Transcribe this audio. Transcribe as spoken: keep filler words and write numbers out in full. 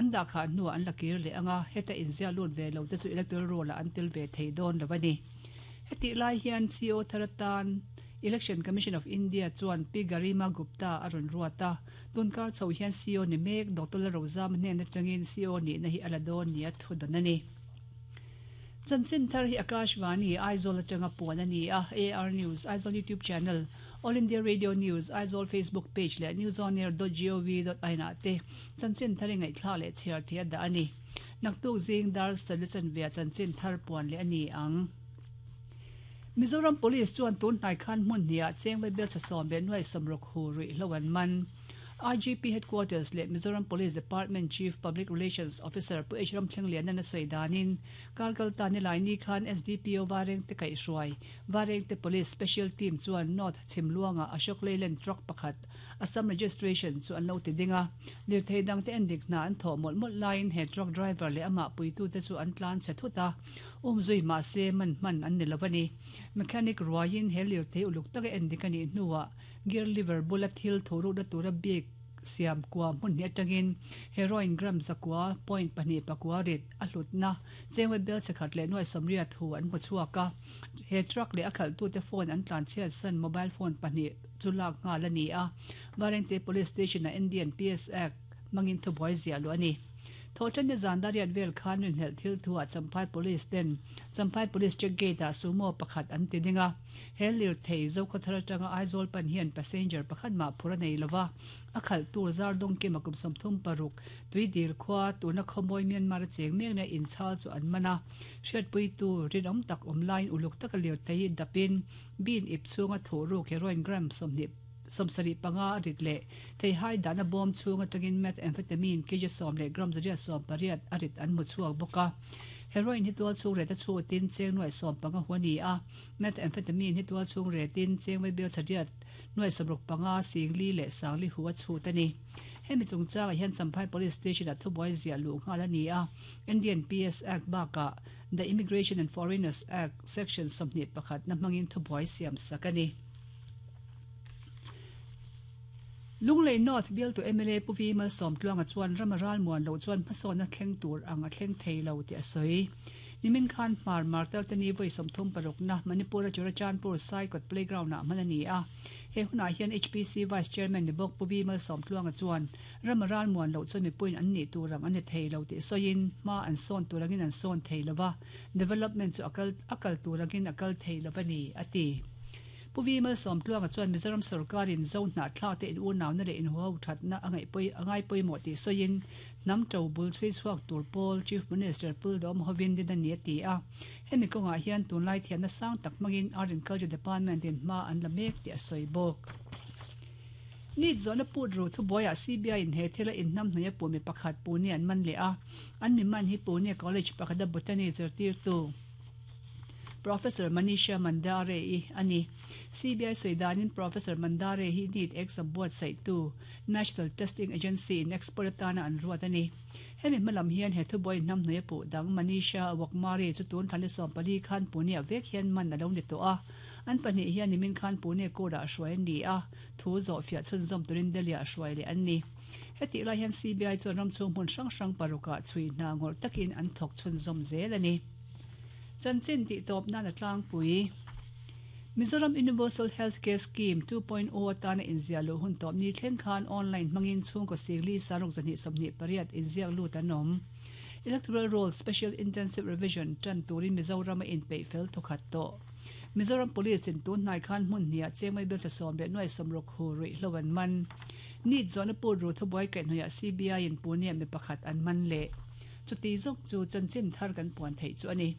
An da kha nu an lakir le anga heta inzia lut ve lo te chu electoral roll an tel ve thei don lawani heti lai hian C E O tharatan Election Commission of India chuan P Garima Gupta arun ruata tunkar chho hian C E O ni mek Doctor Rozam hnen atangin C E O ni na hi aladon ni a thu don ani Chanchin thar hi Akashvani Aizawl atanga puan ani a A R News Aizawl YouTube channel All India Radio News Aizawl Facebook page le newsonair dot gov dot in te chanchin thar ngai thla le chiar thia da ani naktuk zing dar sal chan ve chanchin thar puan le ani ang Mizoram Police chuan tun hnai khan hmun hnia chengwei bel chasom be nuai samrok hu ri hlowan man I G P Headquarters le Mizoram Police Department Chief Public Relations Officer Pu H Ram Thleng na soidanin karkal ta ni lai ni khan S D P O Vareng te kai hruai Vareng te Police Special Team chuan North Chhimluanga Ashok Leyland truck pakhat Assam registration chu an lo ti dinga lir thei dang te endik na an tho mol mol line he truck driver le ama puitu te chu an tlan che thuta um zui ma se man man an ni lawani mechanic ruain he lir thei uluk tak endik ani nuwa gear lever bula thil thoru da tura big siam kwa mun ni atangin heroin gram zakwa point pani pakwa rit ahlutna chengwe bel chakhat le noi somria thu an mu chuaka he truck le akhal tu te phone an tlan chhiat san mobile phone pani chulak nga la ni a Varengte Police Station na Indian P S Act mangin thu boy zia lo ani thochan ne zandariat vel khan rin hel thil thua Champhai Police ten Champhai Police check gate a sumo pakhat an ti dinga helir thei zo khathar tanga Aizawl pan hian passenger pakhat ma phura nei lova akhal tur zar dong ke makum samthum paruk tui dil khwa tuna khomoi Myanmar cheng mek na in chal chu an mana hriat pui tu rinom tak online uluk tak lir thei dapin bin ip chunga thoru heroin gram somni somsari panga rit le thei hai dana bom chunga tangin methamphetamine kg som le gram zaria som pariat arit an mu chuak boka heroin hi tual chung re ta chu tin cheng noi som panga huani a methamphetamine hi tual chung re tin cheng wei bel chariat noi somruk panga singli le sangli huwa chu tani hemi chungcha hian Champhai Police Station a thuboi zia lu nga la ni a Indian P S Act ba ka the Immigration and Foreigners Act section somni pakhat na mangin thuboi siam sakani Lunglei North bill to M L A Puvi Mal som tluanga chuan ramaral muan lo chuan hmasawna thleng tur anga thleng thei lo ti a sawi nimin khan hmar martel te ni voi sawmthum paruk na Manipur Churachandpur Saikot playground na manani a he huna hian H P C Vice Chairman ni bok Puvi Mal som tluanga chuan ramaral muan lo chuan mi puin an ni turang an ni thei lo ti sawiin ma an sawn turangin an sawn thei lova development chu akal akal turangin akal thei lovani ati Puvi Mal som tluanga chuan Mizoram sarkarin zo hna thla te in u naw na le in ho that na angai poi angai poi mo ti soin nam to bul chui chuak tur pol Chief Minister Pul Dom Hovin din ani ti a hemi konga hian tun lai thian na sang tak mangin Art and Culture Department in ma an la mek ti a soi bok ni zona put ru thu boya C B I in he thela in nam hna pu mi pakhat pu ni an man le a an mi man hi pu ni college pakhada botany zertir tu Professor Manisha Mandare i ani C B I soidanin Professor Mandare hi need exam board sai tu National Testing Agency in expertana an ruat ani hemi malam hian he thu boy nam nei pu dang Manisha Wakmari chu tun thani som pali khan pune vek hian man alo ni to a an pani hian nimin khan pune ko da hruai ni a thu zo fia chun zom turin delia hruai le an ni heti lai hian C B I chuan ram chung hmun hrang hrang paruka chui na ngor takin an thok chun zom zel ani Chanchin ti top na na tlang pui Mizoram Universal Healthcare Scheme two point oh atana inzia lo hun top ni thlen khan online mangin chung ko singli saruk zani somni pariat inzia lu tanom Electoral Roll Special Intensive Revision tan turin Mizoram in pe fel thokhat to Mizoram Police in tun nai khan mun nia chengmai bel cha som le noi somrok hu ri hlowan man ni zona pu ru thuboi kai noya C B I in Pune mi pakhat an man le chuti zok chu chanchin thar kan puan thei chu ani.